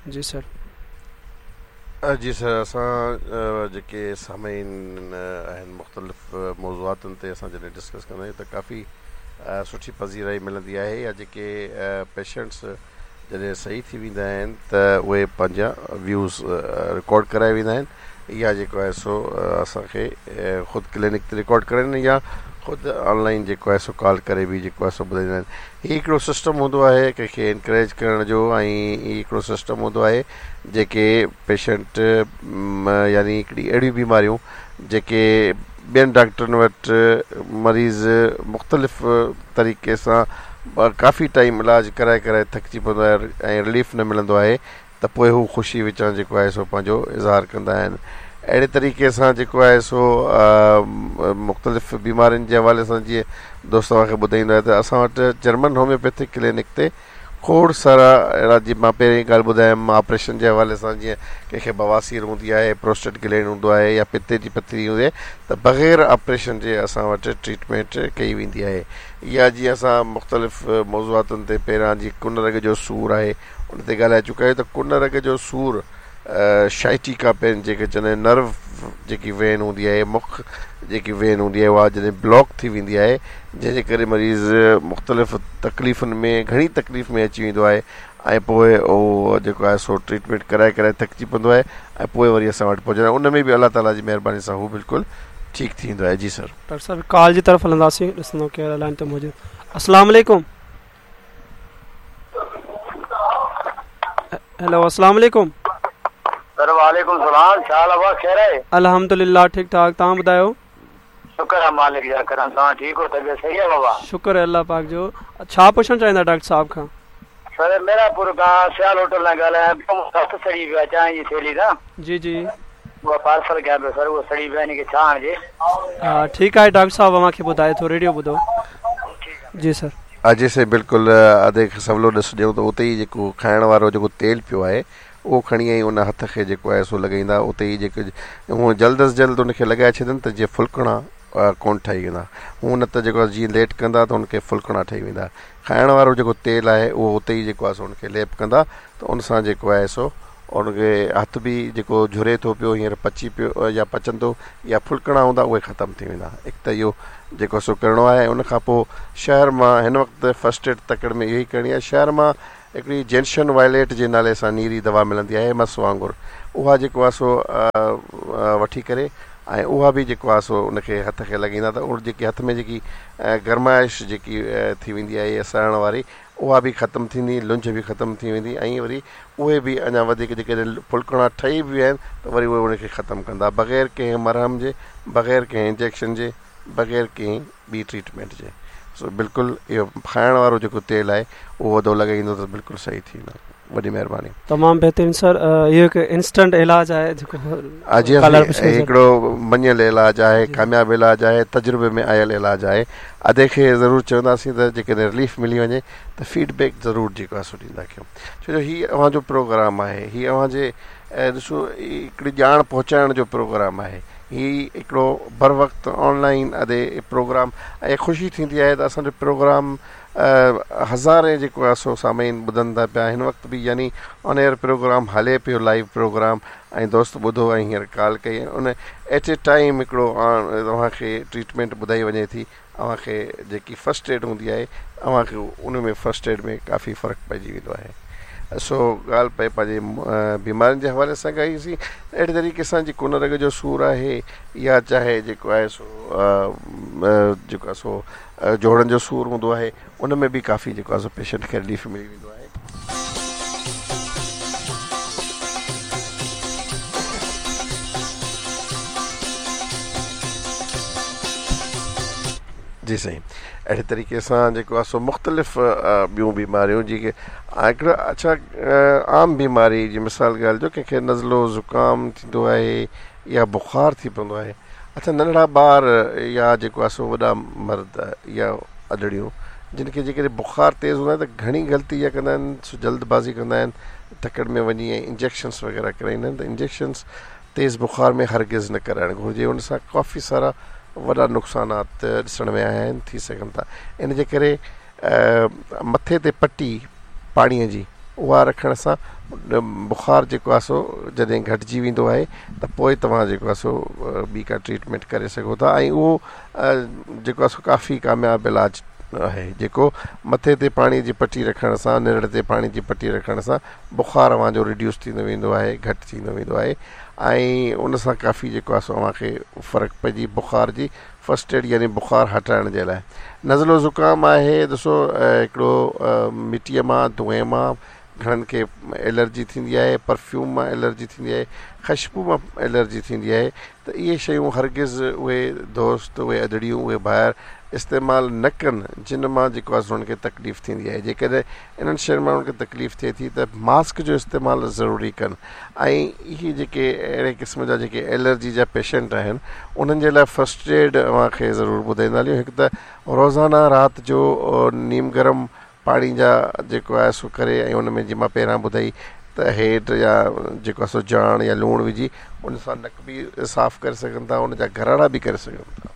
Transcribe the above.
جي سر. جي سر اسان جيڪي سامعين آهن مختلف موضوعاتن تي اسان جڏهن ڊسڪس ڪندا آهيون ته ڪافي سٺي پذيرائي ملندي آهي يا جيڪي پيشنٽس جڏهن صحيح ٿي ويندا آهن ته اهي پنهنجا ويوز رڪارڊ ڪرائي ويندا آهن يا جيڪو آهي سو اسان کي خود ڪلينڪ تي رڪارڊ ڪرائين يا خود آن لائن جيڪو آهي سو ڪال ڪري به جيڪو آهي سو ٻڌائيندا آهن هي هڪڙو سسٽم هوندو آهي ڪنهن کي انڪريج ڪرڻ جو ۽ هي هڪڙو سسٽم هوندو آهي جيڪي پيشنٽ يعني هڪڙي اهڙيون بيماريون جيڪي ٻين ڊاڪٽرن وٽ مريض مختلف طريقي سان ڪافي ٽائيم علاج ڪرائي ڪرائي ٿڪجي پوندو آهي ۽ رليف نه ملندو آهي ته پوء هو خوشي وچان جيڪو آهي سو پنهنجو اظهار ڪندا آهن اهڙي طريقي سان جيڪو آهي سو مختلف بيمارين جي حوالي سان جيئن دوست اوهان کي ٻڌائيندو آهي ته اسان وٽ جرمن هوميوپيٿڪ ڪلينڪ تي کوڙ سارا اهڙا جيئن مان پهرين ڳالهه ٻڌايم آپريشن جي حوالي سان جيئن ڪنهن کي بواسير هوندي آهي پروسٽيٽ گلينڊ هوندو آهي يا پتي جي پٿري هوندي آهي ته بغير آپريشن جي اسان وٽ ٽريٽمينٽ ڪئي ويندي آهي يا جيئن اسان مختلف موضوعاتن تي پهريان جيئن ڪن رڳ جو سور آهي ان تي ڳالهائي چڪا آهيون ته ڪن رڳ جو سور شائٽيڪا پين جيڪي چوندا آهن نرو جيڪي وين هوندي آهي مک جيڪي وين هوندي آهي اها جڏهن بلاڪ ٿي ويندي آهي جنهن جي ڪري مريض مختلف تڪليفن ۾ گهڻي تڪليف ۾ اچي ويندو آهي ۽ پوء اهو جيڪو آهي سو ٽريٽمينٽ ڪرائي ڪرائي ٿڪجي پوندو آهي ۽ پوء وري اسان وٽ پهچندو آهي ان ۾ به الله تعالي جي مهرباني سان هو بلڪل ٺيڪ ٿي ويندو آهي جي سر. ڊاڪٽر صاحب ڪال جي طرف هلنداسين ڏسندو ڪير لائن تي موجود السلام عليڪم. هيلو السلام عليڪم. سر وعليڪم السلام ڇا حال آ خير آهي. الحمدلله ٺيڪ ٺاڪ توهان ٻڌايو. شڪر آ مالڪ جا ڪرم توهان ٺيڪ هو طبيعت صحيح آ بابا. شڪر آ الله پاڪ جو ڇا پڇڻ چاهيندا ڊاڪٽر صاحب کان. سر ميرانپور کان سيال هوٽل تان ڳالهايان پيو مون هٿ سڙي ويو آ چانهه جي ٿيلهي تان. جي جي. اها پارسل ڪيان پيو سر اهو سڙي ويو آ ان کي ڇا هڻجي. ها ٺيڪ آهي ڊاڪٽر صاحب اوهان کي ٻڌائي ٿو ريڊيو ٻڌو جي سر. جي سائين بلڪل ادي کي سولو ڏس ڏيون ته اتي ئي جيڪو کائڻ وارو جيڪو تيل پيو آهي اهو کڻي ۽ ان هٿ کي جيڪو آهي سو لڳائيندا اتي ئي جيڪو هونء جلد از جلد ان کي لڳائي ڇڏن ته جيئن ڦلڪڻا ڪونه ٺهي ويندا هونء نه ته جيڪو آهي جيئن ليٽ ڪندا ته ان کي ڦلڪڻا ٺهي ويندا کائڻ وارو جيڪو تيل آهي اهو اتي ئي جيڪو آهي سو ان کي ليپ ڪندا ته ان سان جيڪو آهي سو ان کي هٿ به جيڪو جهري ٿو پيو هينئر پچي پيو يا پچندو يا ڦلڪڻا هوندا اهي ختم ٿي ويندا هڪ ته اهو جيڪو سو ڪرڻو آهي ان کان پوء شهر مان هن وقت فرسٽ ايڊ تڪڙ ۾ اهو ئي ڪرڻي آهي شهر مان هڪڙي جينشن وائليٽ جي نالي سان نيري دوا ملندي آهي مس وانگر اها جيڪو آهي سو وٺي ڪري ۽ اها به جيڪو آهي سو ان کي هٿ کي لڳائيندا ته اهو جيڪي هٿ ۾ جيڪي گرمائش جيڪي ٿي ويندي آهي سڙڻ واري اها به ختم ٿيندي لنجهه به ختم ٿي ويندي ۽ وري اهي به اڃا وڌيڪ جيڪڏهن ڦلڪڻا ٺهي به ويا آهن ته وري اهي ان کي ختم ڪندا بغير ڪنهن مرهم جي بغير ڪنهن انجيڪشن جي بغير ڪنهن ٻي ٽريٽمينٽ جي سو بلڪل اهو کائڻ وارو جيڪو تيل آهي اهو ادو لڳائيندو ته بلڪل صحيح ٿي ويندو وڏي مهرباني. تمام بهترين سر اهو هڪ انسٽنٽ علاج آهي جيڪو جي هڪڙو مڃيل علاج آهي ڪامياب علاج آهي تجربي ۾ آيل علاج آهي ادي کي ضرور چونداسين ته جيڪڏهن رليف ملي وڃي ته فيڊ بيڪ ضرور جيڪو آهي سو ڏيندا ڪيو ڇو جو هي اوهان جو پروگرام آهي هي اوهان جي ڏسو هڪڙي ڄاڻ پهچائڻ جو پروگرام آهي هي هڪڙو بر وقت آن لائن ادي پروگرام ۽ خوشي ٿيندي آهي ته اسان جو پروگرام هزارين جيڪو آهي سو سامعين ٻڌن ٿا پيا هن وقت به يعني آن ايئر پروگرام هلي پيو لائيو پروگرام ۽ دوست ٻڌو ۽ هينئر ڪال ڪئي ان ايٽ اي ٽائيم هڪڙو اوهان کي ٽريٽمينٽ ٻڌائي وڃي ٿي اوهان کي جيڪي فرسٽ ايڊ هوندي آهي اوهان کي ان ۾ فرسٽ ايڊ ۾ ڪافي فرق پئجي ويندو آهي سو ڳالهه پئي پنهنجي بيمارين جي حوالي سان ڪئي سين اهڙي طريقي سان جيڪو ڪن رڳ جو سور آهي يا چاهي جيڪو آهي سو جيڪو آهي سو جوڙن جو سور هوندو آهي ان ۾ به ڪافي جيڪو آهي سو پيشنٽ کي رليف ملي ويندو آهي. جي سائين اهڙي طريقي سان جيڪو آهي سو مختلف ٻيون بيماريون جيڪي هڪڙو اڇا عام بيماري جي مثال ڳالهه جو ڪنهن کي نزلو زڪام ٿيندو آهي يا بخار ٿي پوندو آهي اڇا ننڍڙا ٻار يا جيڪو آهي سو وڏا مرد يا ادڙيون جن کي جيڪڏهن بخار تيز هوندو آهي ته گهڻي غلطي اها ڪندا آهن سو جلد بازي ڪندا آهن تڪڙ ۾ وڃي ۽ انجيڪشنس وغيره ڪرائيندا آهن ته انجيڪشنس تيز بخار ۾ هرگز نه ڪرائڻ گهرجي ان سان ڪافي سارا وڏا نقصانات ڏسڻ ۾ آيا آهن ٿي سگهن ٿا ان جي ڪري مٿي تي پٽي پاڻي جي. اها رکڻ سان بخار جيڪو آهي سو جڏهن گهٽجي ويندو آهي ته پوء توهان جيڪو آهي سو ٻي ڪا ٽريٽمينٽ ڪري سگهو ٿا ۽ اهو جيڪو آهي سو ڪافي ڪامياب علاج آهي جيڪو مٿي تي پاڻي جي پٽي رکڻ سان نرڙ تي پاڻي جي پٽي رکڻ سان بخار اوهان جو ريڊيوس ٿيندو ويندو آهي گهٽ ٿيندو ويندو آهي ۽ ان سان ڪافي جيڪو آهي سو اوهان کي فرق پئجي بخار جي فرسٽ ايڊ يعني بخار هٽائڻ جي لاء نزلو زڪام آهي ڏسو هڪڙو مٽيء مان دونهين مان گهڻن کي الرجي ٿيندي آهي پرفيوم مان الرجي ٿيندي آهي خشبو مان الرجي ٿيندي آهي ته اهي شيون هرگز اهي دوست اهي ادڙيون اهي ڀائر استعمال نه ڪن جن مان جيڪو آهي سو انهن کي تڪليف ٿيندي آهي جيڪڏهن انهن شين مان انهن کي تڪليف ٿئي ٿي ته ماسڪ جو استعمال ضروري ڪن ۽ اهي جيڪي اهڙي قسم جا جيڪي الرجي جا پيشنٽ آهن انهن جي لاء فرسٽ ايڊ اوهان کي ضرور ٻڌائيندا هلون هڪ ته روزانه رات جو نيم گرم پاڻي جا جيڪو آهي سو ڪري ۽ ان ۾ جيئن مان پهريان ٻڌائي ته هيڊ يا جيڪو آهي سو جاڻ يا لوڻ وجهي ان سان نڪ به صاف ڪري سگهن ٿا ان جا گراڙا به ڪري سگهن ٿا.